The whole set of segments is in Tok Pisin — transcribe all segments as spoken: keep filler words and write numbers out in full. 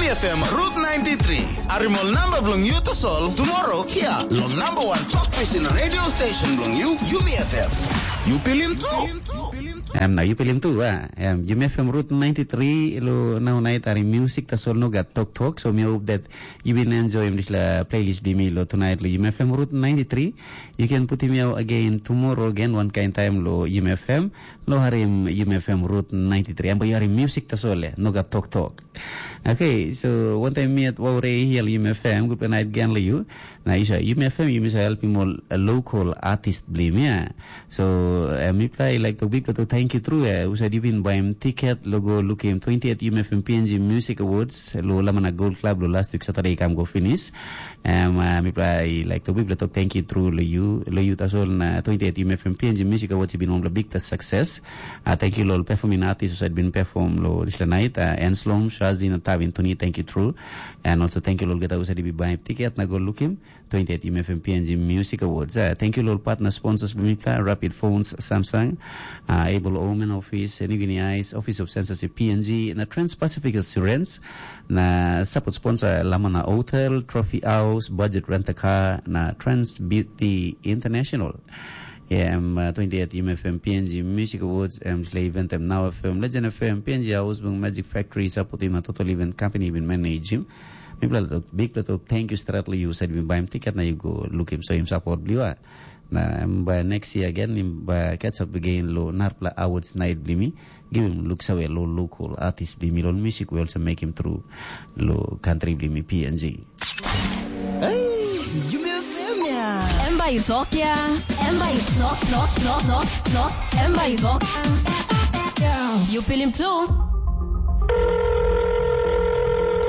F M Route ninety-three. Harim ol namba bilong yu tasol tomorrow hia long number one tok pisin radio station bilong yu, Yumi F M. Yu pilim tu. Em na yu pilim tu, a. Em, Yumi F M Route ninety-three lo nau nait harim music tasol no gat tok tok. So mi hope that you been enjoying this la playlist bimi lo tonight lo Yumi F M Route ninety-three. You can put him out again tomorrow again one kind time lo Yumi F M. Lo harim Yumi F M Route ninety-three. Em ba yu harim music tasol, eh, no gat tok tok. Okay, so one time mi at Waure hia lo Yumi F M, good night again lo yu. Na isa Yumi F M, Yumi sa helpim ol, uh, local artist blim, yeah. So, uh, mipla I like to big to thank you through, uh, usa dibin baim ticket lo go lukim twenty-eight Yumi F M P N G Music Awards lo Lamana Gold Club lo last week Saturday kam go finish. Um, uh, mipla I like to big to thank you through lo you, lo you tasol na twenty-eight Yumi F M P N G Music Awards been one of the big plus success. Uh, thank you lo performing artists usa been perform lo this night. Uh, Enslom, Shazin, Tavin, Tuni, thank you through. And also thank you lo geta usa dibi baim ticket na go lukim. twenty-eight M F M P N G Music Awards. Uh, thank you lo partner sponsors bimipla, Rapid Phones, Samsung, uh, Able Omen Office, New Guinea Eyes, Office of Censorship P N G, na Trans-Pacific Assurance, na support sponsor Lamana Hotel, Trophy House, Budget Rent a Car, na Trans Beauty International. Yeah, em, uh, twenty-eight M F M P N G Music Awards, em sle event em Now F M, Legend F M, P N G House, Bung Magic Factory, support him, a total event company, even manage him. Mipela tok, bikpela tok, thank you stret lo yu said bin baim tiket na yu go lukim so him support bliwa. Na em ba next year again, him ba catch up again lo narpela awards night blimi. Give him look sawe lo local artist blimi lo music we also make him through lo country blimi P N G. Hey, you may feel me. Em ba yu tok ya. Em ba yu tok, tok, tok, tok, tok. Em ba yu tok. You feel him too.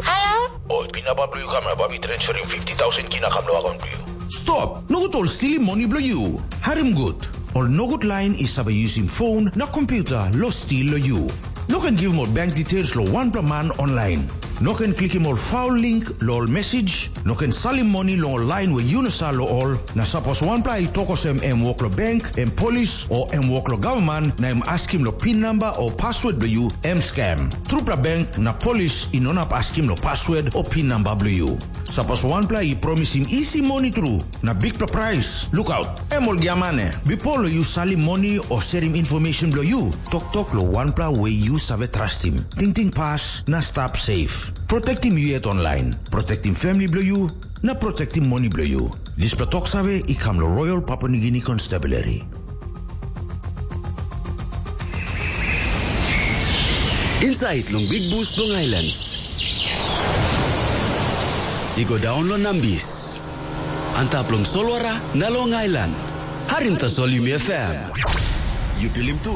Hello? Oi, pin namba bilong yu kam na bai mi transferim fifty thousand kina kam lo akaunt bilong yu. Stop! Nogut ol stilim moni bilong yu. Harim gut. Ol nogut lain i save yusim phone na kompyuta lo stil lo yu. No ken givim ol bank details lo wanpela man online. No ken klikim ol faul link lo ol message. No ken salim moni long ol lain we yu no sa lo ol. Na sapos wanpela i tok olsem em wok lo bank, em polis, o em wok lo gavman, na em askim lo pin namba o password bilong yu, em scam. Trupela bank na polis i no inap askim lo password o pin namba bilong yu. Sapos wanpela i promisim isi moni tru, na bikpela prais, lukaut, em ol giamane. Bipo lo yu salim moni o serim information bilong yu, toktok lo wanpela we yu save trastim. Tingting pas na stap safe. Protektim yu yet online. Protektim family bilong yu, na protektim moni bilong yu. Dispela tok save i kam lo Royal Papua New Guinea Constabulary. Inside long Big Bush bilong Islands. I go daun long Nambis. Antap long solwara na long ailan. Harim tasol Yumi F M. Yu pilim tu.